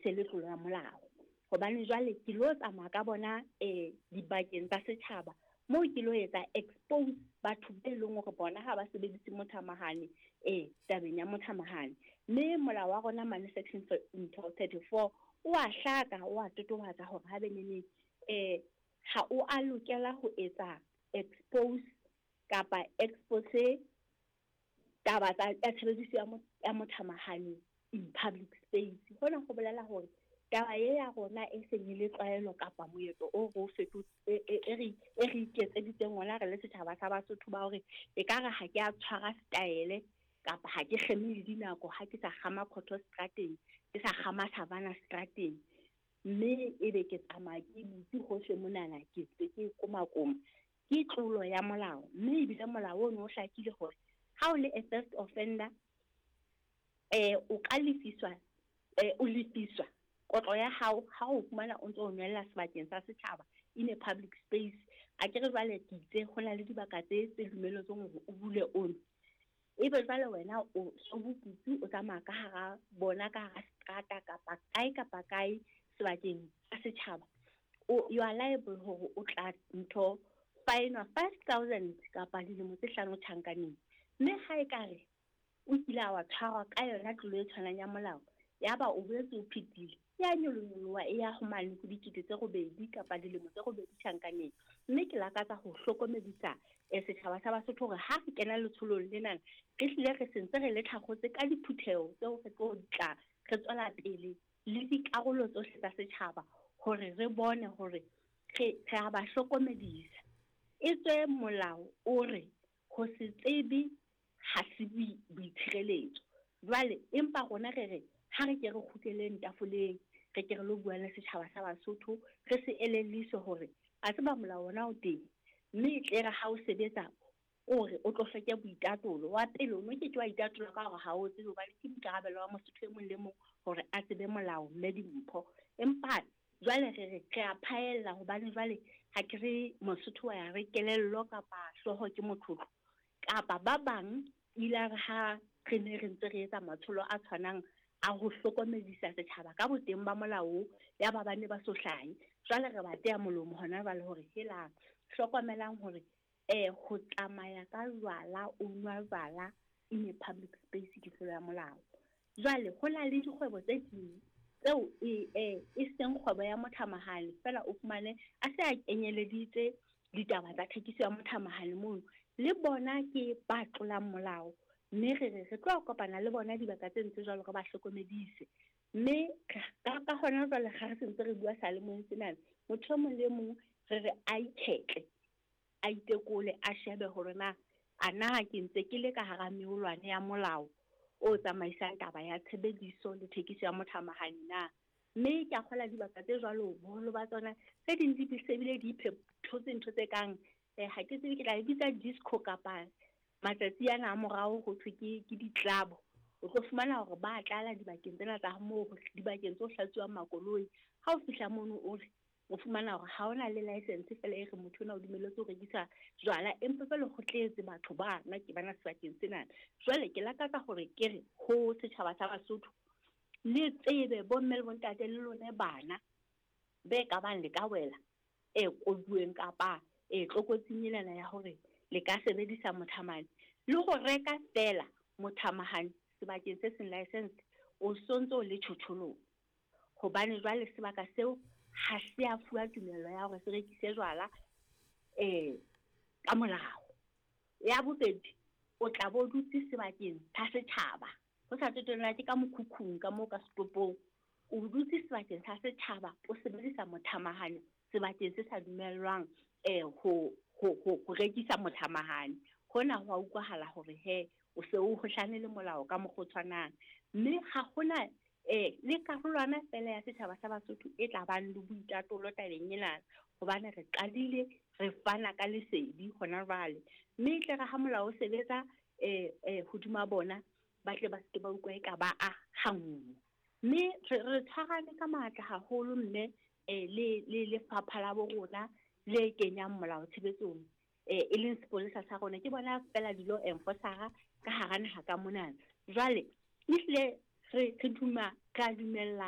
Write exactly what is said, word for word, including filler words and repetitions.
se le tlolo ya molao. Hobane jwale ke lo tsamaya ka bona eh dibakeng tsa setjhaba moo ke lo etsa expose batho be leng hore bona ha ba sebedise mothamahane eh tabeng ya mothamahane. Mme molao wa rona mane section thirty-four o a hlaka, o a totobatsa hore ha benene eh ha o a lokela ho etsa expose kapa expose taba tsa tshebediso ya mothamahane in public space. Hona ho bolela hore taba e ya rona e seng e le tlwaelo kapa moetlo o re o fetotse e re e re iketseditseng ona re le setjhaba sa Basotho ba hore ekare ha ke a tshwara style kapa ha ke kgeme le dinako, ha ke sa kgama Khotho strateng, ke sa kgama Savannah strateng, mme ebe ke tsamaya ke butse hohle monana, ke ntse ke komakoma, ke tlolo ya molao. Mme ebile molao ono o hlakile hore ha o le a first offender eh o ka lefiswa eh o lefiswa kotlo ya hao ha o fumana o ntso o nwella sebakeng sa setjhaba in a public space. A ke re jwale ke itse ho na le dibaka tse tse dumelletsweng hore o bule ono, ebe jwale wena o so boputsi o tsamaya ka hara bona ka hara strata kapa kae kapa kae sebakeng sa setjhaba, o you are liable hore o tla ntho fine five thousand kapa dilemo tse hlano tjhankaneng. Mme ha e kare o kile wa tshwarwa ka yona tlolo e tshwanang ya molao, yaba o boetse o phethile, ya nyolonyoloha e ya ho mane ho dikete tse robedi kapa dilemo tse robedi tjhankaneng. Mme ke lakatsa ho hlokomedisa setjhaba sa Basotho hore ha re kena letsholong lena, re hlile re sentse re le tlhakgotse ka diphutheho tseo re tlo tla re tswela pele le dikarolo tsohle tsa setjhaba hore re bone hore re re a ba hlokomedisa. Etswe molao o re ho se tsebe ha se boitshireletso. Jwale empa rona re re ha re ke re kgutleleng tafoleng, re ke re lo bua le setjhaba sa Basotho, re se elelliswe hore a tseba molao ona o teng, mme e tle re ha o sebetsa o re o tlo hloke boitatolo. Wa pele o no ke ke wa itatola ka hore ha o tsebe, hobane ke boikarabelo ba Mosotho e mong le mong hore a tsebe molao mme dimpho. Empa jwale re re re a phaella hobane jwale ha ke re Mosotho wa ya re kelello kapa hlooho ke motlotlo, kapa ba bang ile re ha re ne re ntse re etsa matsholo a tshwanang a ho hlokomedisa setjhaba ka boteng ba molao, ya ba bane ba so hlahe. Jwale re ba teya molomo hona jwale hore helang, hlokomelang hore eh ho tsamaya ka jwala, o nwa jwala in a public space ke tlolo ya molao. Jwale ho na le dikgwebo tse ding tseo e e e seng kgwebo ya mothamahane fela, o fumane a se a kenyeleditse ditaba tsa thekiso ya mothamahane mono, le bona ke ba tlolang molao. Mme re re re tlo kopana le bona dibaka tse ntse jwalo re ba hlokomedise. Mme ka ka hona jwale ha re sentse re bua salemoyeng senana, motho e mong le mong re re a ikgetle, a itekole, a shebe hore na a na ke ntse ke le ka hara meolwane ya molao o tsamaisang taba ya tshebediso le thekiso ya mothamahane na. Mme ke a kgola dibaka tse jwalo boholo ba tsona tse ding di sebile di iphethotse ntho tse kang eh ha ke tsebe ke tla e bitsa disco kapa matsatsi ana a morao ho thwe ke ke ditlabo. O tlo fumana hore ba tlala dibakeng tsena tsa moo dibakeng tse hlatsuwang makoloi. Ha o fihla mono o re o fumana hore ha ona le license fela e re motho ona o dumelletswe ho rekisa jwala, empa fela ho tletse batho ba nna ke bana sebakeng sena. Jwale ke lakatsa hore ke re ho setjhaba sa Basotho le tsebe bomme le bontate le lona bana be ka bang le ka wela e koduweng kapa e tlokotsing ena ya hore le ka sebedisa mothamane le ho reka fela mothamahane sebakeng se seng license, o sontso le tjhotjholong, hobane jwale sebaka seo ha se a fuwa tumello ya hore se rekise jwala eh ka molao. Ya bobedi, o tla bo dutse sebakeng sa setjhaba, ho sa tsotella ke ka mokhukhung ka moo ka setopong, o dutse sebakeng sa setjhaba o sebedisa mothamahane sebakeng se sa dumellwang eh ho ho ho rekisa mothamahane. Hona ho a utlwahala hore he o se o hohlane le molao ka mokgwa o tshwanang. Mme ha hona eh le karolwana fela ya setjhaba sa Basotho e tla bang le boitatolo tabeng ena, hobane re qadile re fana ka lesedi hona jwale. Mme e tle re ha molao o sebetsa eh eh hodima bona, ba tle ba se ke ba utlwa eka ba a hanngwe. Mme re re tshwarane ka matla haholo mme eh le le lefapha la bo rona le kenyang molao tshebetsong eh e leng sepolesa sa rona, ke bona fela di-law enforcer ka hara naha ka monana. Jwale ehlile re re duma ka dumellana.